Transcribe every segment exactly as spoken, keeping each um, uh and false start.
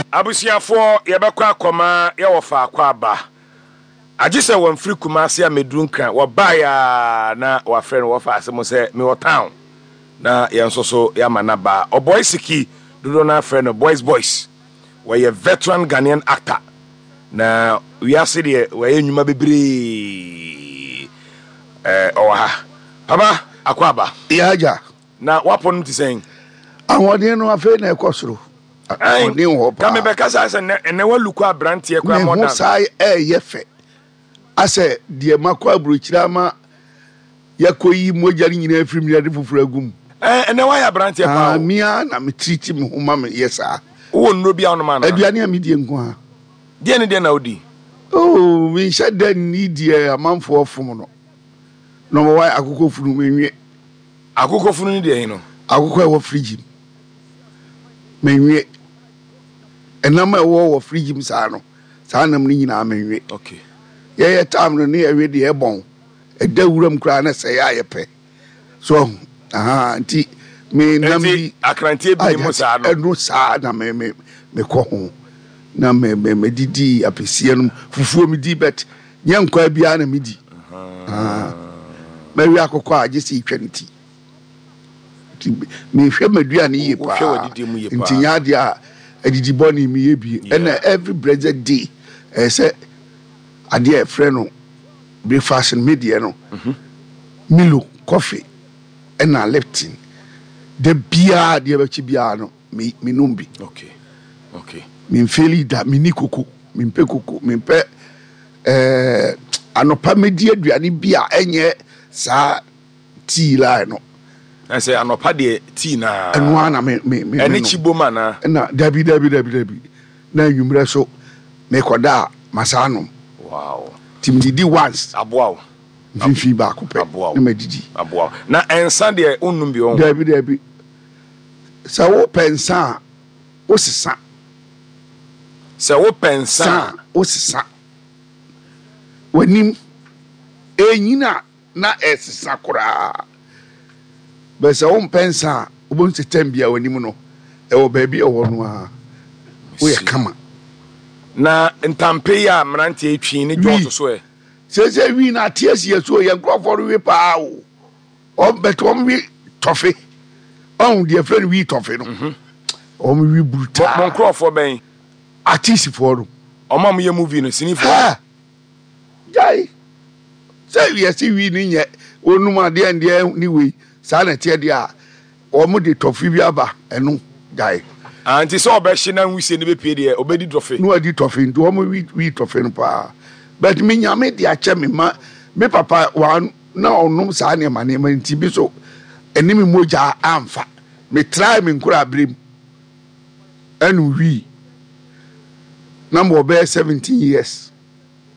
Abusuafoɔ, yɛbɛkɔ akɔma yɛwɔ faako aba agye sɛ wɔmfiri Kumase a mɛduru Nkran. Wɔbaeɛ a na wɔafrɛ no, wɔfa ase mo sɛ mewɔ town na yɛn nso so yɛama no ba. Ɔbɔe siki dodoɔ no afrɛ no Boys Boys. Wɔyɛ veteran Ghanaian actor na wiase deɛ wɔyɛ nnwuma bebree. ɛɛ ɔwɔ ha. Papa, akɔ aba. Yɛagya. Na wapɔ no te sɛn? Ahoɔden no afei na ɛkɔ soro. Ahoɔden wɔ hɔ ka paa. Mebɛka saa sɛ nnɛ ɛnɛ walu kɔ aberanteɛ koraa. Me ho mɔdan saa ɛɛyɛ fɛ asɛ deɛ makɔ aburokyire ama yɛkɔyi mogya no nyinaa firi mu yɛde foforɔ agu mu. Ɛɛ ɛnɛ wayɛ aberanteɛ paa Ah, o. mea na metiriti me ho ma meyɛ saa. Wowɔ nnuro bi a wonom anaa? Aduane a medie nko a. Deɛ ne deɛ na wodi? Oh, menhyɛ da nni deɛ amanfoɔ fom no. Number one, akokɔ funu menwe. Akokɔ funu ne deɛ he no? Akokɔ a ɛwɔ fridge mu menwe. Ɛnam a ɛwɔ wɔ fridge mu saa no, saa nam no nyinaa menwe. Okay yɛyɛ tam no ne yɛwe deɛ ɛbɔn ɛda wuram koraa na sɛ yɛ a yɛpɛ so ɔho aha nti me nam nti bi akranteɛ bi ne mu saa no. Ɛno saa na me me mekɔ ho na me me medidi apɛsie no, fufuo medi, but nyɛ nkwa biara na medi. Ah, mɛwe akokɔ a gye sɛ etwa ne ti, nti mehwɛ m'aduane yie Wohwɛ paa. w'adidi mu yie Nti paa. nyɛ adeɛ a adidi bɔne meyɛ bie. Yeah. Ɛna every blessed day ɛyɛ sɛ adeɛ a ɛfrɛ no breakfast no, me deɛ no Milo coffee ɛna Lipton. Da biara deɛ bɛkyi biara no me menom bi. okay okay Memfeli da. Menni koko, mempɛ koko, mempɛ ɛɛ anɔpa medi aduane bi a ɛnyɛ saa tea line no. Na sɛ anɔpa deɛ, tea naa? Ɛno ara na me me me ɛne menom. Kyi bom anaa? Ɛna dabi, dabi, dabi, dabi, na anwummerɛ so mekɔda a masaa nom. Wow nti medidi once. Aboa wo. Mfimfini baako pɛ. Aboa wo. Na madidi. Aboa wo. Na ɛnsa deɛ, wonnum bi wɔ? Dabi, dabi, sɛ wopɛ nsa a wosesa. Sɛ wopɛ nsa sa a wosesa w'anim ɛnyina na ɛsesa koraa bɛ. Sɛ wompɛ nsa a, wobɛhu sɛ tam bia w'anim no ɛwɔ baabi a ɛwɔ no a woyɛ kama. Na ntampe yi a mmeranteɛ twi ne dwɔɔto so ɛ? Sɛsɛ wi no ate asi yɛ so. Yɛ nkurɔfoɔ no we paa o. Ɔm- but wɔn we tɔfe, ɔn deɛ fɛ no wi tɔfe no, wɔn wi mo brutal. Mo nkurɔfoɔ bɛn? Artistfoɔ no. Ɔmo a moyɛ movie no, sinifoɔ? Ha gyae sɛ yɛsi wi ni nyɛ onum adeɛ ndeɛ ne wei saa na ɛteɛ deɛ a wɔn de tɔfe bi aba, ɛno gyae. Ah, nti sɛ ɔbɛhye na nwusie no bɛpie deɛ, ɔbɛdi dɔfe. Na wadi tɔfe, nti wɔn wi wi tɔfe no paa, but me Nyame de akyɛ me ma me papa wa na ɔnom saa nneɛma nneɛma, nti bi so ɛne me mogya amfa. Me try me nkora abere mu ɛnu wi na mo bɛyɛ seventeen years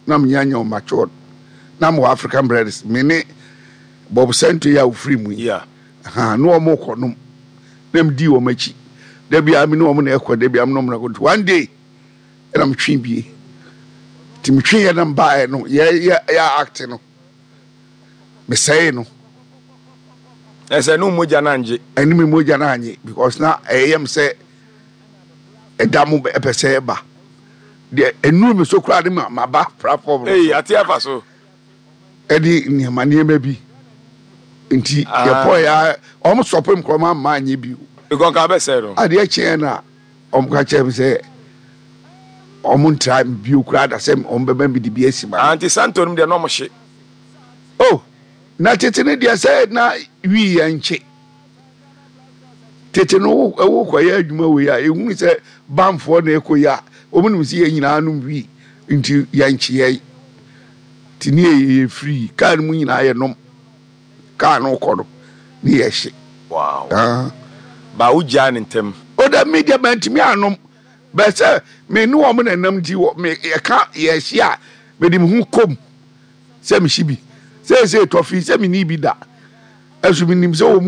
na mo nya nya matured na mo wɔ African Brothers, me ne Bob Sento yi a ofiri mu yi. Yeah. Ha na wɔn kɔ nom na me di wɔn akyi. Dabi a me ne wɔn na ɛkɔ, dabi a me ne wɔn na ɛkɔ. Nti one day ɛna me twe bie, nti me twe yɛ na mbaeɛ no yɛ yɛ yɛ act no, mesɛe no. Ɛsɛ ne wo mogya no angye. Ɛne me mogya no anye because na ɛyɛ m sɛ ɛda mo ɛpɛ sɛ ɛba deɛ ɛnuru me so koraa ne ma maba platform no Ei so. Ate afa so. Ɛne nneɛma nneɛma bi nti Ah. yɛkɔɔ yɛ a ɔmo sɔpem nkorɔma ama anyɛ bio. Because nka bɛsɛe no. Adeɛ kyeɛ na ɔmo ka kyerɛ me sɛ ɔmo ntra me bio koraa da sɛ ɔmo bɛma me de bi asi ma Ah, no. nti santo nom deɛ na ɔmo hye? Oh, na tete no deɛ sɛ na wii yɛ nkye. Tete no wo ɛwo kɔyɛ adwuma wei a ehunu sɛ bamfoɔ na ɛkɔ yi a, wɔn nim sɛ yɛn nyinaa nom wii nti yɛnkye yɛn nti ne yɛ yɛ firi kaa no mu nyinaa yɛ nom kaa no kɔ no ne yɛ hye. Wow Ah. Ba wogyaa ne ntɛm? O da, mi deɛ mɛntumi anom bɛ sɛ me ne wɔn na nam nti wɔ me yɛka yɛhye a mede me ho kom sɛ mehye bi seesei tɔfe sɛ menni bi da, ɛso menim sɛ wɔ mu.